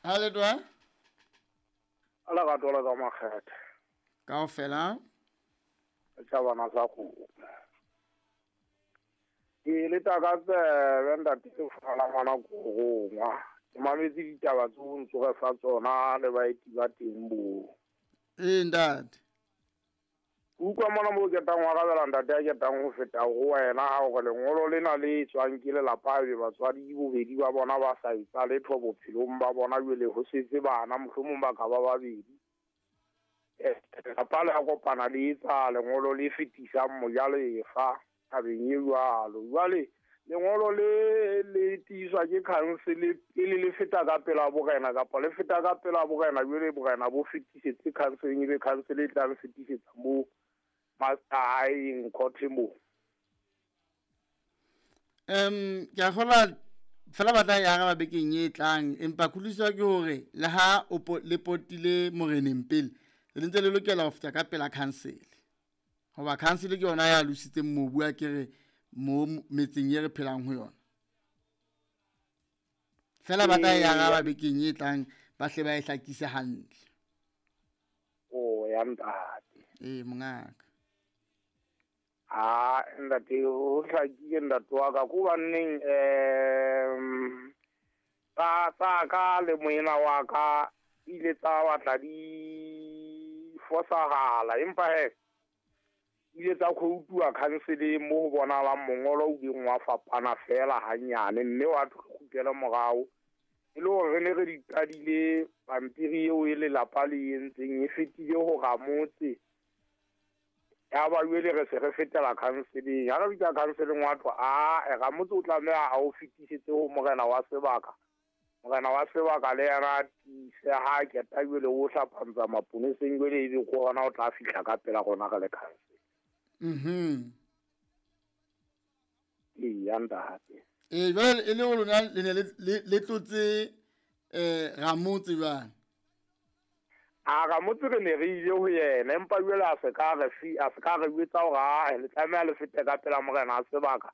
Ha le twa? A lerato la ka makgethe. Kaofela. Tsa bana sa kgomo. Ke le taka tsebe ntate Lefala ngwana korongwa. Ke mametse ditaba tseo ntso re fa tsona le baeti ba teng bo. Ee ntate. Utlwa mona mo ketang wa rabela ntate a ketang ho feta ho wena ha hore lengolo lena le tswang ke lelapa be batswadi bobedi ba bona ba sa etsa letho bophelong ba bona jwale ho setse bana mohlomong ba ka ba babedi. Lelapa le a kopana le etsa lengolo le fetisang mojalefa tabeng e jwalo. Jwale lengolo le le tiiswa ke council pele le feta ka pela borena kapa le feta ka pela borena jwale borena bo fetisetse council ebe council e tla le fetisetsa mo master court mo. Ke a kgolwa fela batla ya araba bekeng e tlang, empa kutlwisiso ke hore le ha o le potile moreneng pele le ntse le lokela ho feta ka pela council. Hoba council ke yona ya lositseng mobu a kere mo metseng e re phelang ho yona. Fela batla ya araba bekeng e tlang ba hle ba e hlakise hantle. O ya ntate. Ee mongaka. Ah ntate ho hlakile ntate wa ka ko banneng tsa ka le moena wa ka ile tsa batla di fosahala empa he ile tsa khoutuwa council mo ho bonalang mongolo o ileng wa fapana fela hanyane mme wa kgutlela morao e le hore re ne re di qadile pampiri eo e lelapa le entseng e fetile ho ramotse ya ba jwale re se re fetela councileng. Ha re fihla councileng wa thwa a ramotse o tlameha a o fetisetse ho morena wa sebaka. Morena wa sebaka le yena a tiise ha keta jwale o hlapantsa maponeseng jwale ebe ko hona o tla fihla ka pela rona re le council. Mhm. Ee ntate. Ee jwale e le lona le ne le tlotse ramotse jwang? A ramotse re ne re ile ho yena empa jwale a se ka re jwetsa hore a le tlameha le fete ka pela morena a sebaka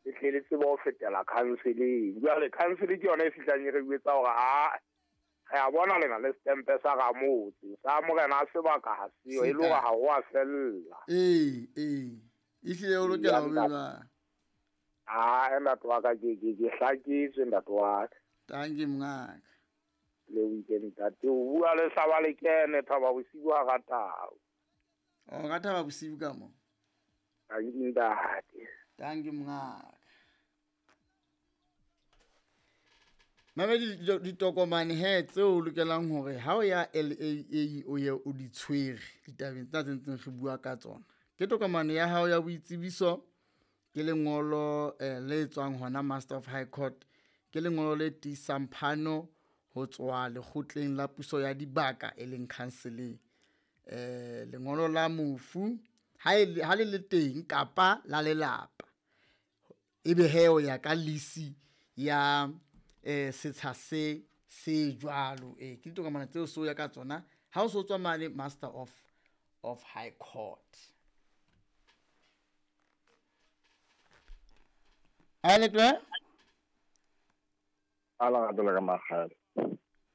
le tle le tsebe ho fetela councileng. Jwale council ke yona e fihlang e re jwetsa hore a re a bona lena le stempe sa ramotse sa morena a sebaka ha seo e le hore ha ho a fella. Ee ee ehlile o lokela ho beba. Ah ntate wa ka ke hlaketswe ntate wa ka. Thank you mongaka. Le weekend ntate o bua le hlaba le kene thaba bosiu ha ratao. O ka thaba bosiu ka mo. Thank you ntate. Thank you mongaka. Mamedi ditokomane he tseo o lokelang hore ha o ya LAA o ye o di tshwere ditabeng tsa tse ntseng re bua ka tsona. Ke tokomane ya hao ya boitsebiso, ke lengolo le tswang hona Master of High Court, ke lengolo le tiisang phano ho tswa lekgotleng la puso ya dibaka e leng councileng. Lengolo la mofu ha le le teng kapa la lelapa ebe he o ya ka lisi ya setsha se se jwalo. Ke ditokomane tseo so ya ka tsona ha o so tswa mane Master of High Court. A le twe? Ala ga ka makgale.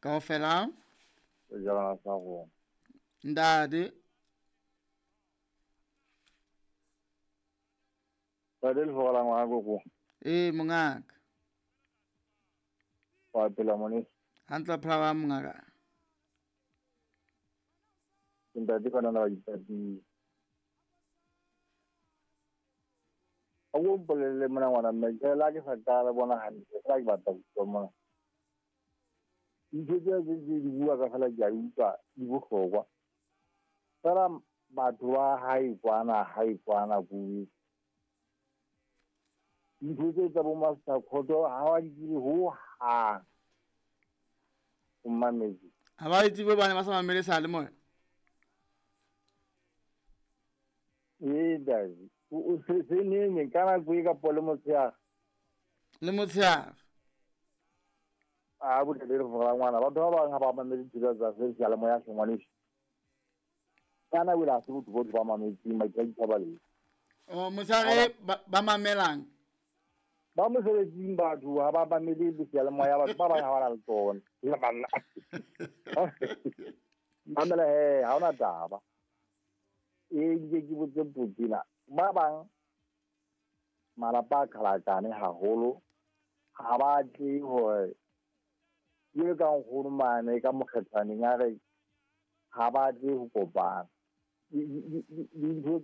Kaofela? Jala sa go. Ntate. Ba del fola ngwa go. Ee mongaka. Wa pela mone. Hantle phela ba mongaka. Ntate kana na ba. A go mpolelle mona ngwana mme ke la ke sa ka bona hantle la ke batla go mona. Ntho tse di bua ka fela ke a utlwa di bohlokwa. Fela batho ba hae kwana kuwe. Ntho tse tsa bo master court ha wa di tsebe ho hang. O mametse. Ha ba tsebe bana ba sa mamele sa le moya. Ee dadi. O se neng ka nako e ka po le motshehare. Le motshehare. A bo le re ngwana batho ba bang ha ba mamele ditsela tsa seyalemoya hle ngwaneso. Kana o la se botho bo ba mametse maikutlo ba le. O motshehare ba mamelang. Ba mosebetsing batho ha ba mamele seyalemoya, batho ba bang ha ba na le tsona. Le banna. Mamela he, ha hona taba. E nke ke botse potso. Ba bang malapa a qhalakane haholo, ha ba tle hore ke ka nkgono mane ka mokgethwaneng a re ha ba tle ho kopana. Dintho.